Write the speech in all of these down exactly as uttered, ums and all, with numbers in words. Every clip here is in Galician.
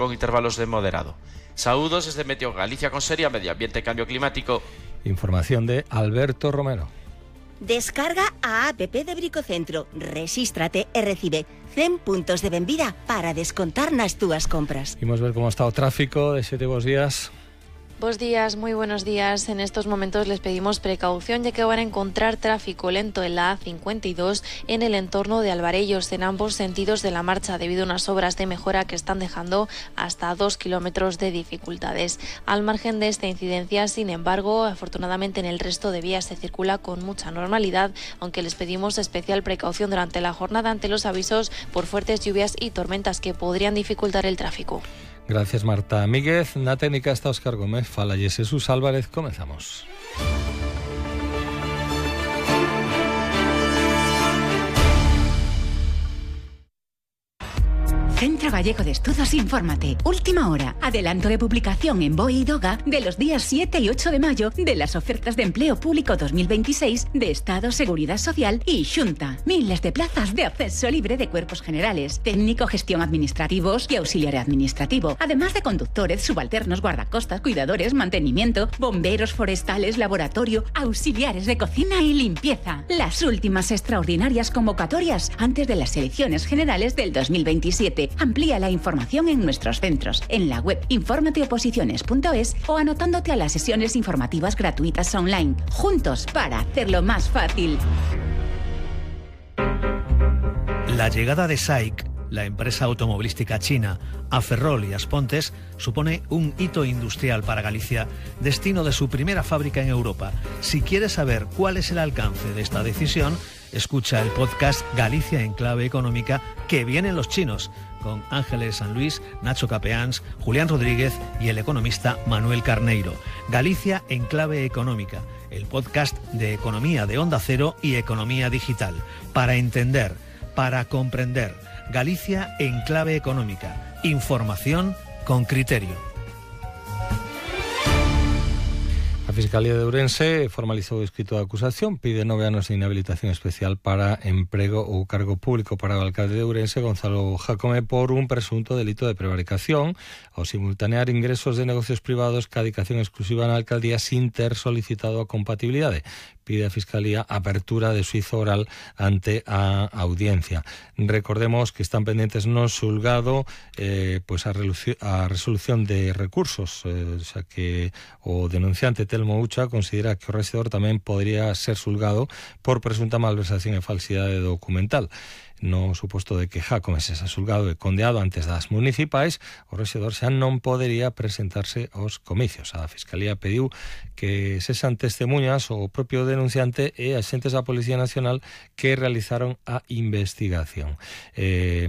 con intervalos de moderado. Saúdos desde Meteo Galicia con Seria, Medio Ambiente e Cambio Climático. Información de Alberto Romero. Descarga a app de Bricocentro, rexístrate e recibe cen puntos de benvida para descontar nas túas compras. Imos ver como está o tráfico. De xete bos días. Buenos días, muy buenos días. En estos momentos les pedimos precaución ya que van a encontrar tráfico lento en la A cincuenta y dos en el entorno de Alvarellos en ambos sentidos de la marcha debido a unas obras de mejora que están dejando hasta dos kilómetros de dificultades. Al margen de esta incidencia, sin embargo, afortunadamente en el resto de vías se circula con mucha normalidad, aunque les pedimos especial precaución durante la jornada ante los avisos por fuertes lluvias y tormentas que podrían dificultar el tráfico. Gracias, Marta Míguez. Na técnica está Óscar Gómez. Falalle Jesús Álvarez. Comenzamos. Centro Gallego de Estudos Infórmate. Última hora. Adelanto de publicación en B O E y DOGA de los días siete y ocho de mayo de las ofertas de empleo público dos mil veintiséis de Estado, Seguridad Social y Xunta. Miles de plazas de acceso libre de cuerpos generales, técnico, gestión administrativos y auxiliar administrativo, además de conductores, subalternos, guardacostas, cuidadores, mantenimiento, bomberos forestales, laboratorio, auxiliares de cocina y limpieza. Las últimas extraordinarias convocatorias antes de las elecciones generales del dos mil veintisiete. Amplía la información en nuestros centros, en la web informateoposiciones punto es o anotándote a las sesiones informativas gratuitas online. Juntos para hacerlo más fácil. La llegada de S A I C, la empresa automovilística china, a Ferrol y Aspontes, supone un hito industrial para Galicia, destino de su primera fábrica en Europa. Si quieres saber cuál es el alcance de esta decisión, escucha el podcast Galicia en Clave Económica, que vienen los chinos, con Ángeles San Luis, Nacho Capeáns, Julián Rodríguez y el economista Manuel Carneiro. Galicia en Clave Económica, el podcast de economía de Onda Cero y economía digital. Para entender, para comprender. Galicia en Clave Económica. Información con criterio. A Fiscalía de Ourense formalizou o escrito de acusación, pide nove anos de inhabilitación especial para emprego ou cargo público para o alcalde de Ourense, Gonzalo Jácome, por un presunto delito de prevaricación ao simultanear ingresos de negocios privados ca dedicación exclusiva na alcaldía sin ter solicitado a compatibilidade. Pide a Fiscalía apertura de xuizo oral ante a audiencia. Recordemos que están pendentes no xulgado eh, pues a, a resolución de recursos, eh, o sea que o denunciante Telmo Ucha considera que o rexedor tamén podría ser xulgado por presunta malversación e falsidade documental. No suposto de que Jácome se xa xulgado e condeado antes das municipais, o rexedor xa non podería presentarse aos comicios. A Fiscalía pediu que sexan testemunhas o propio denunciante e axentes da Policía Nacional que realizaron a investigación. Eh,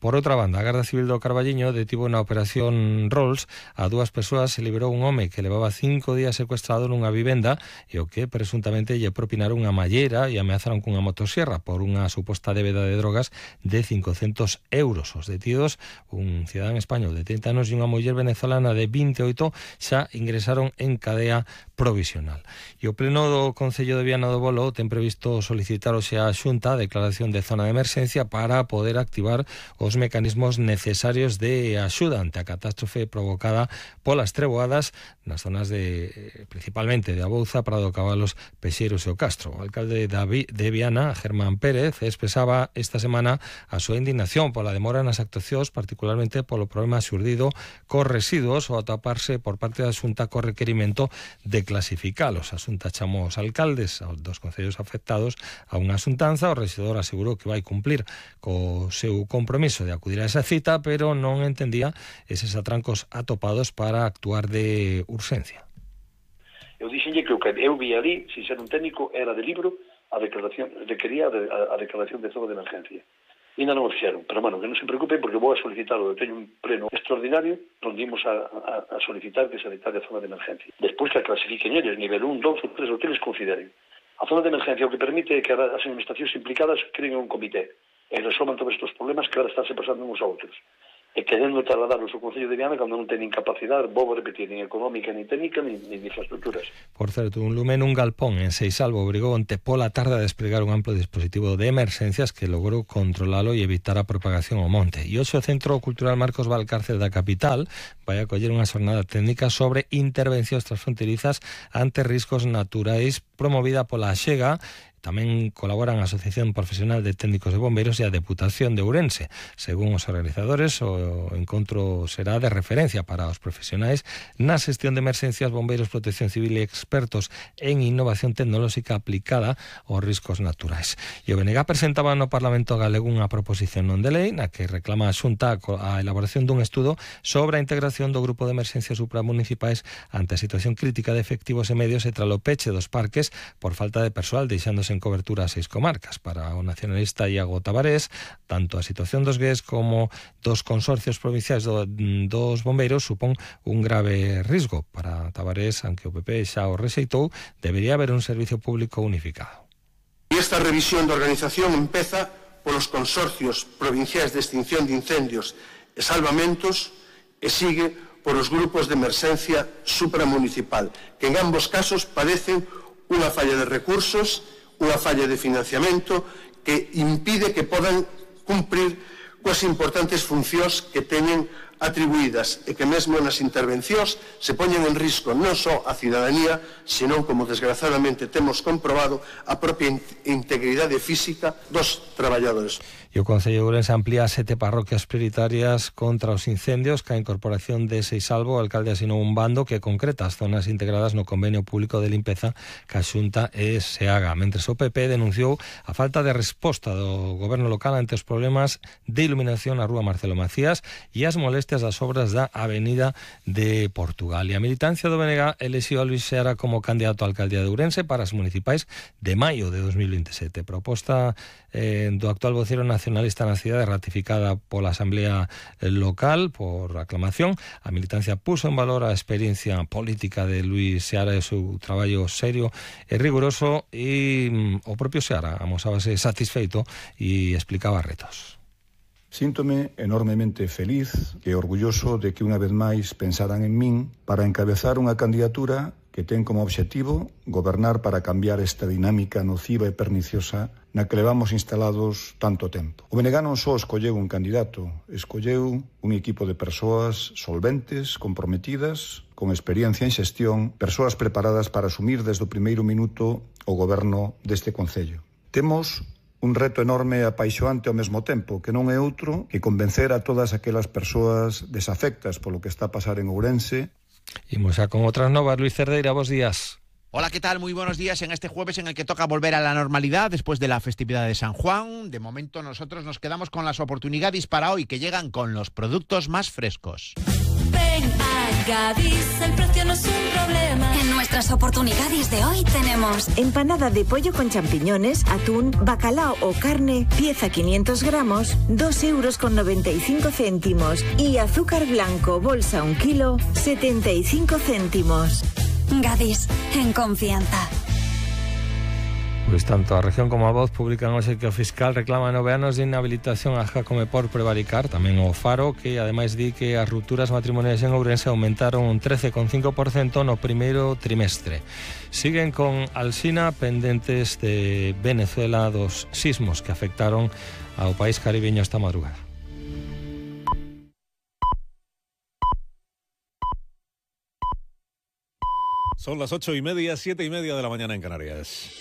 por outra banda, a Garda Civil do Carballiño detivo na operación Rolls a dúas persoas e liberou un home que levaba cinco días secuestrado nunha vivenda e o que presuntamente lle propinaron unha mallera e ameazaron cunha motosierra por unha suposta débeda de drogas de cincocentos euros. Os detidos, un cidadán español de trinta anos e unha muller venezolana de vinte e oito, xa ingresaron en cadea provisional. E o Pleno do Concello de Viana do Bolo ten previsto solicitar hoxe á Xunta a declaración de zona de emerxencia para poder activar os mecanismos necesarios de axuda ante a catástrofe provocada polas treboadas nas zonas de, principalmente de Abouza, Prado Cabalos, Pexeiros e o Castro. O alcalde de Viana, Germán Pérez, expresaba esta semana a súa indignación pola demora nas actuacións, particularmente polo problema xurdido cos residuos ou ataparse por parte da Xunta co requerimento de clasificalos. A Xunta chamou aos alcaldes dos concellos afectados a unha xuntanza. O rexedor asegurou que vai cumplir co seu compromiso de acudir a esa cita, pero non entendía eses atrancos atopados para actuar de urxencia. Eu dixenlle que o que eu vi ali, sin ser un técnico, era de libro a declaración, requería a, a declaración de zona de emergencia. E ainda non o fixeron, pero, bueno, que non se preocupen porque vou a solicitarlo. Eu teño un pleno extraordinario onde imos a, a, a solicitar que se declare a zona de emergencia. Despois que a clasifiquen eles, nivel un, dos ou tres, ou que les consideren. A zona de emergencia o que permite que as administracións implicadas creen un comité e resolvan todos estes problemas que ahora estánse pasando uns a outros. e querendo trasladar o seu Concello de Viana cando non teñen capacidade, vou repetir, nin económica, nin técnica, nin, nin infraestructuras. Por certo, un lume nun galpón en Seisalvo obrigou onte pola tarde a desplegar un amplo dispositivo de emerxencias que logrou controlalo e evitar a propagación ao monte. E hoxe o Centro Cultural Marcos Valcárcel da capital vai acoller unha xornada técnica sobre intervencións transfronterizas ante riscos naturais promovida pola Axega. Tamén colaboran a Asociación Profesional de Técnicos de Bombeiros e a Deputación de Ourense. Según os organizadores, o encontro será de referencia para os profesionais na xestión de emerxencias, bombeiros, protección civil e expertos en innovación tecnolóxica aplicada aos riscos naturais. E o B N G presentaba no Parlamento galego unha proposición non de lei na que reclama a Xunta a elaboración dun estudo sobre a integración do grupo de emerxencias supramunicipais ante a situación crítica de efectivos e medios e tralo peche dos parques por falta de persoal, deixándose en cobertura a seis comarcas. Para o nacionalista Iago Tabarés, tanto a situación dos gués como dos consorcios provinciais do, dos bombeiros supón un grave risco. Para Tabarés, aunque o P P xa o rexeitou, debería haber un servicio público unificado. E esta revisión da organización empeza polos consorcios provinciais de extinción de incendios e salvamentos e sigue por os grupos de emerxencia supramunicipal, que en ambos casos padecen unha falla de recursos, unha falla de financiamento que impide que podan cumprir coas importantes funcións que teñen atribuídas e que mesmo nas intervencións se poñen en risco non só a cidadanía, senón, como desgraciadamente temos comprobado, a propia integridade física dos traballadores. E o Concello de Ourense amplía sete parroquias prioritarias contra os incendios. Ca incorporación de Seisalvo, o alcalde asinou un bando que concreta as zonas integradas no convenio público de limpeza que a Xunta e SEAGA, mentres o P P denunciou a falta de resposta do goberno local ante os problemas de iluminación na rúa Marcelo Macías e as molestias das obras da Avenida de Portugal. E a militancia do B N G elixiu a Luís Seara como candidato á alcaldía de Ourense para as municipais de maio de dos mil veintisiete. Proposta eh, do actual vocero nacionalista na cidade, ratificada pola Asamblea Local por aclamación. A militancia puso en valor a experiencia política de Luís Seara e o seu traballo serio e riguroso, e mm, o propio Seara amosábase satisfeito e explicaba retos. Síntome enormemente feliz e orgulloso de que unha vez máis pensaran en min para encabezar unha candidatura que ten como obxectivo gobernar para cambiar esta dinámica nociva e perniciosa na que levamos instalados tanto tempo. O B N G non só escolleu un candidato, escolleu un equipo de persoas solventes, comprometidas, con experiencia en xestión, persoas preparadas para asumir desde o primeiro minuto o goberno deste Concello. Temos un reto enorme e apaixoante ao mesmo tempo, que non é outro que convencer a todas aquelas persoas desafectas polo que está a pasar en Ourense. Imos xa con outras novas. Luis Cerdeira, bos días. Hola, ¿qué tal? Muy buenos días en este jueves en el que toca volver a la normalidad después de la festividad de San Juan. De momento nosotros nos quedamos con las oportunidades para hoy, que llegan con los productos más frescos. Ven a Gadis, el precio no es un problema. En nuestras oportunidades de hoy tenemos empanada de pollo con champiñones, atún, bacalao o carne, pieza quinientos gramos, dos euros con noventa y cinco céntimos. Y azúcar blanco, bolsa un kilo, setenta y cinco céntimos. Gadis, en confianza. Pois tanto a región como a Voz publican hoxe que o fiscal reclama nove anos de inhabilitación a Jácome por prevaricar. Tamén o Faro, que ademais di que as rupturas matrimoniais en Ourense aumentaron un trece coma cinco por cento no primeiro trimestre. Siguen con Alsina pendentes de Venezuela dos sismos que afectaron ao país caribeño esta madrugada. Son las ocho y media, siete y media de la mañana en Canarias.